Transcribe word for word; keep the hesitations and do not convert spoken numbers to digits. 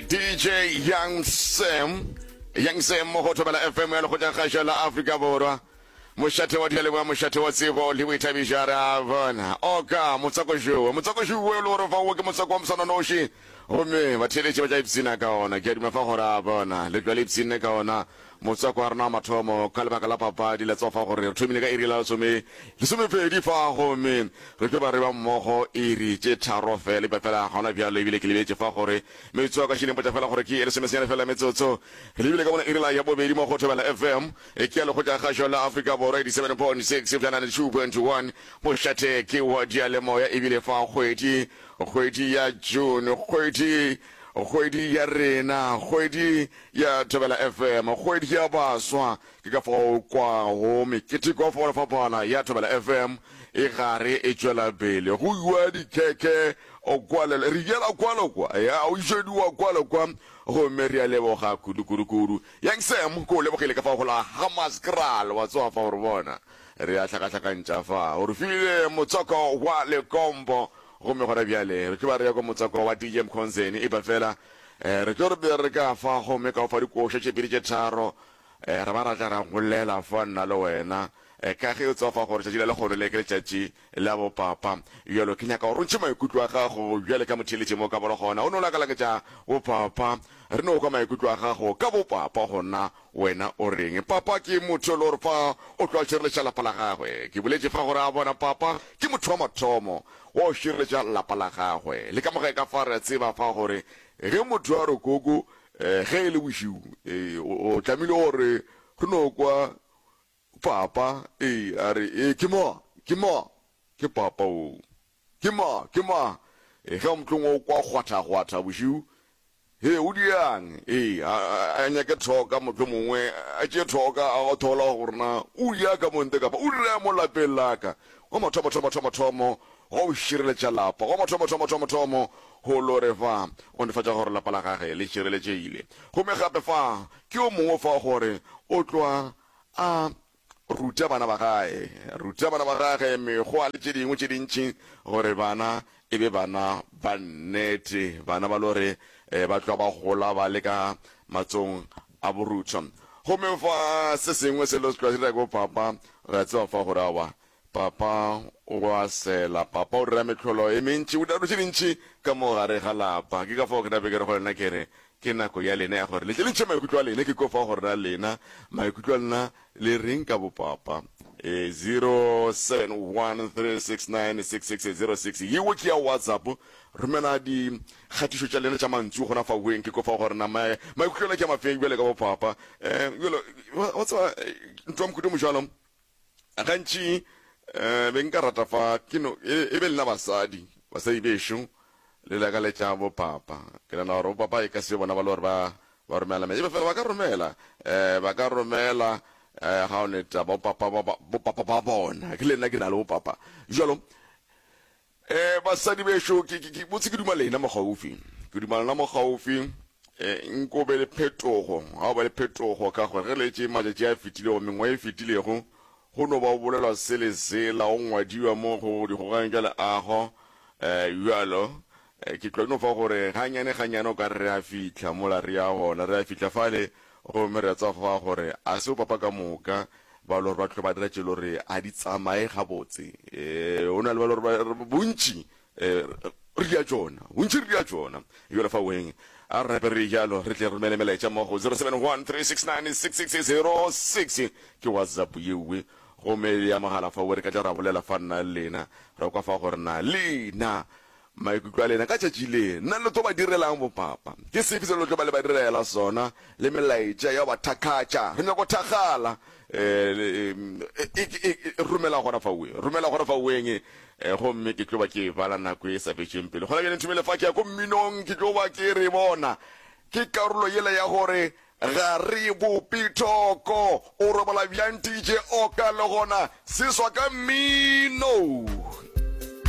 D J Young Sam, Young Sam mo go Thobela F M ya Lekgotla Kgašo la Afrika Borwa, mošate wa dialeboa, mošate wa tsebo le boithabišo. Re a bona oka motsakošowe, motsakošowe le gore fa o ke motswako wa moswananoši, gomme batheeletši ba tla ipshina ka ona. Ke a duma fa gore a bona le tla le ipshinne ka ona motswako wa rena wa mathomo ka lebaka la papadi. La tsofa gore re thomile ka iri la lesome lesomepedi fa, gomme re tlo ba re ba mmogo iri tše tharo fela ipa fela gona bjalo. Ebile ke lebetse fa gore metsotso ya ka šileng potša fela gore ke e lesomesenyane fela metsotso re lebile ka bona iri la ya bobedi mo go Thobela F M, e ke ya Lekgotla Kgašo la Afrika Borwa, eighty-seven point six bjana two point one, mošate ke wa dialemoya. Ebile fa kgwedi kgwedi ya June, kgwedi kgwedi ya rena, kgwedi ya Thobela F M, kgwedi ya baswa, ke ka fao kwago meketeko ya go fapana ya Thobela F M e gare e tšwela pele go iwa dikhekhe o kwale re yela kwalo kwa ya o išediwa kwalo kwa. Gomme re a leboga kudu kudu kudu. Young Sam ko o lebogile ka fa go la Hammanskraal, wa tsoga fa gore bona re a hlakahlakantša fa o re file motswako wa lekompo. Gomme gona bjale re tlo ba re ya kwa motswako wa D J Mkhonzeni, e ba fela um re tlo re be re ka fa gomme ka o fa dikoša tše pedi tše tharo, um re ba ra tla ra golela fa nna le wena, um ka ge o tswa fa gore tšatši la lekgono le ke letšatši la bopapa. Bjalo ke nyaka gore o ntšhe maikutlo a gago bjale ka motheeletše mo ka bolo gona o no lakalaketša bopapa, re no kwa maikutlo a gago ka bopapa gona. Wena o reng? Papa ke motho le gore fa o tlo a šireletša lapa la gagwe. Ke boletše fa gore a bona papa ke motho wa mathomo wa o šireletša lapa la gagwe le ka moga ka fa. Re a tseba fa gore ge motho a re koko, um ge e le bošiu, o tlamehile gore re no kwa papa ee a re ee, ke mo ke mo ke papa o ke mo ke mo e ge motlong o kwa kgwatha-kgwatha bošiu, he o diang ee a nyake thoka, motho mongwe a tšee thoka a thola gore na o dia ka monte kapa o dira mo lapeng laka. Wa mathomo thomo thomo thomo go šireletša lapa, go mathomo thomo thomo thomo go lore fa o netefatša gore lapa la gage le šireletšegile. Gomme gape fa ke o mongwe fa gore o tloa a ruta bana ba gae, ruta bana ba gage mekgwa le tše dingwe tše dintši gore bana e be bana ba nnete, bana ba lore um ba tloa ba gola ba le ka matsong a borutho. Gomme fa se sengwe se lo se tloa se dira ko papa, re a tseba fa gore awa papa o a sela, papa o dira metlholo e mentši, o dira dilo tše dintši ka mo gare ga lapa. Ke ka fao ke nape ke re go lena, ke re ke nako ya lena ya gore le tle le ntšhe maikutlo a lena. Ke ko fa gore na lena maikutlo a lena le reng ka bopapa. E zero seven one three six nine six six zero six yeo ke ya WhatsApp, romela dikgatišo tša lena tša mantšu gona fa weng. Ke ko fa gore na maikutlo a lena ke a mafeng bjale ka bopapa. um jalo wa tseba ntho ya mohuta mojalo gantši um be nka rata fa ke no e be lena basadi, basadi bešo le lakaletša bopapa. Ke nana gore bopapa e ka se bona ba le gore ba ba romela me, ebe fela ba ka romela, um ba ka romela um ga o neta bopapa bopapa ba bona ke le nna ke na le bopapa jalo. um basadi bešo, ke botse ke duma lena mogaufi, ke duma lena mogaufi, um nko be le phetogo, ga o ba le phetogo ka gore ge letse matšatši a fetilego, mengwa e fetilego, go no ba o bolelwa se le sela, o ngwadiwa mo go dikgogang tša leago. um bjalo ke tlo no fa gore ganyane ganyane o ka re re a fitlha mola re ya gona, re a fitlha fale. Gomme re a tseba fa gore a se o papa ka moka ba le gore ba tlo ba dira tše le gore a di tsamaye gabotse. um o na le ba le gore bontši um re dia tšona, bontši re dia tšona. Jalo fa weng a re rape re jalo re tle romele melaetša mo go zero seven one three six nine six six zero six, ke WhatsApp yewe. Gomme ya mogala fa we re ka tla ra bolela fa nna le lena, ra kwa fa gore na lena maikutlo a lena ka tšatši le nna le tlo ba direlang bopapa, ke sefe se le tlo ba le ba direla sona, le melaetša ya ba thakgatša re nyako thakgala. um romela gona fa we, romela gona fa weng, gomme ke tlo ba ke bala nako e sa fetšeng pele. Gona bjale nthomele fa ke ya ko mminong, ke tlo ba ke re bona ke karolo yela ya gore ga re bope thoko. O robala bjang D J Oka le gona seswa ka mmino?